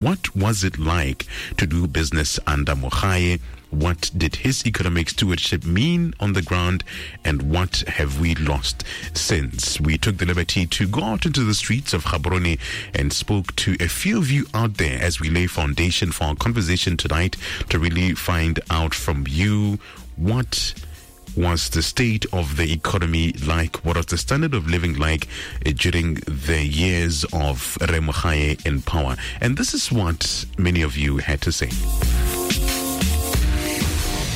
What was it like to do business under Mogae? What did his economic stewardship mean on the ground? And what have we lost since? We took the liberty to go out into the streets of Gaborone and spoke to a few of you out there as we lay foundation for our conversation tonight to really find out from you what was the state of the economy like? What was the standard of living like during the years of Rre Mogae in power? And this is what many of you had to say.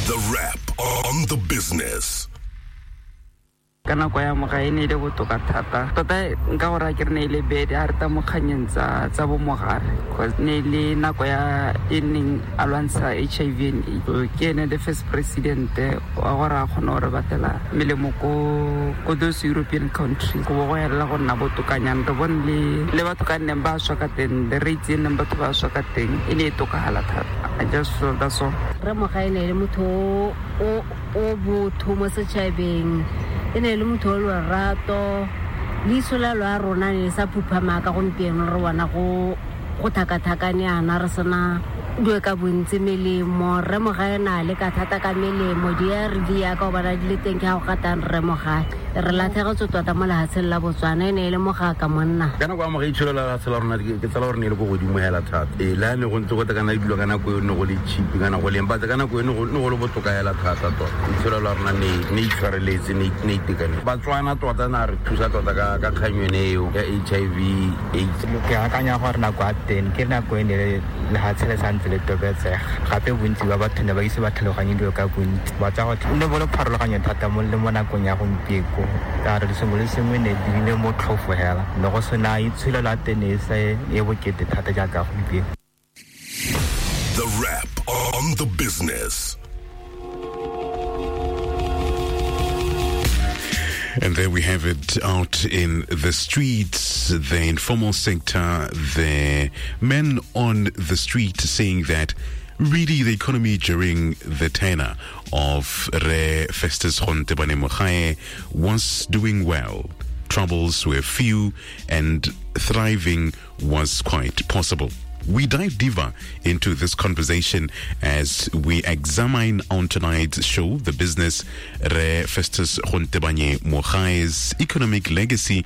The Wrap on the Business. Ka nako ya Mogae e ne e le botoka thata tota. Nka gore a ke re ne e le bede a re ta mo kganyeng tsa bo Mogare, cause ne e le nako ya e neng a lwantsha HIV and AIDS. So ke ene the first president wa gore a kgone gore batela melemo ko those European countries, go bo go elela go nna botokanyana. Re bone le batho ka nneng ba swa ka teng, the rates e neng batho ba swa ka teng e ne e tokagala thata. I just feel that's all. Rre Mogae ne e le motho o botho mo setšhabeng, e ne e le motho o lorato. Leiso la lo a rona ne le sa phuphama ka gompieno re bona go thakathakane yana, re sena dilo ka bontsi. Melemo, Rre Mogae na le ka thata ka melemo, di-ARV yaka o bona di le teng ke ga go gatang Rre Mogae. Re latlhegetswe tota mo lefatsheng la Botswana, e ne e le mogaka monna. Ka nako ya Mogae, itsholelo la lefatshe la rona ke tsela gore ne e le ko godimo hela thata. Ee, le a ne go ntse go tekana dilo ka nako eo ne go le cheap kana go leng, but ka nako eo ne go le botoka hela thata tota. Itsholelo la rona ne itshwareletse, ne itekanetse. Batswana tota na re thusa tota ka kgang yone eo ya HIV AIDS. Ke akanya gore nako ya teng ke nako e ne lefatshe le santse le tobetsega, gape bontsi ba batho ne ba ise ba tlhaloganye dilo ka bontsi ba tsa go ne bo le pharologanyo thata mo le mo nakong ya gompieko, ka re sengwe le sengwe ne di le motlhofo hela, ne go sena itsholelo ya teng e se e bokete thata jaaka gompieno. The Wrap on the Business. And there we have it out in the streets, the informal sector, the men on the street saying that really the economy during the tenure of Rre Festus Gontebanye Mogae was doing well. Troubles were few and thriving was quite possible. We dive deeper into this conversation as we examine on tonight's show, The Business, Rre Festus Gontebanye Mogae's economic legacy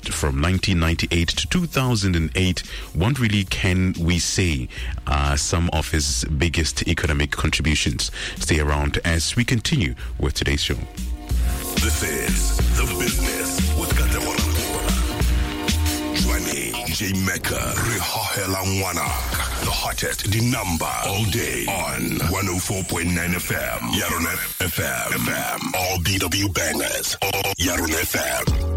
from 1998 to 2008. What really can we say are some of his biggest economic contributions? Stay around as we continue with today's show. This is The Business with Katlego Rakola. Jwaneng J Mecca re hohela ngwana, the hottest, the number all day on 104.9 FM. Yarona FM. FM. All BW bangers. All Yarona FM.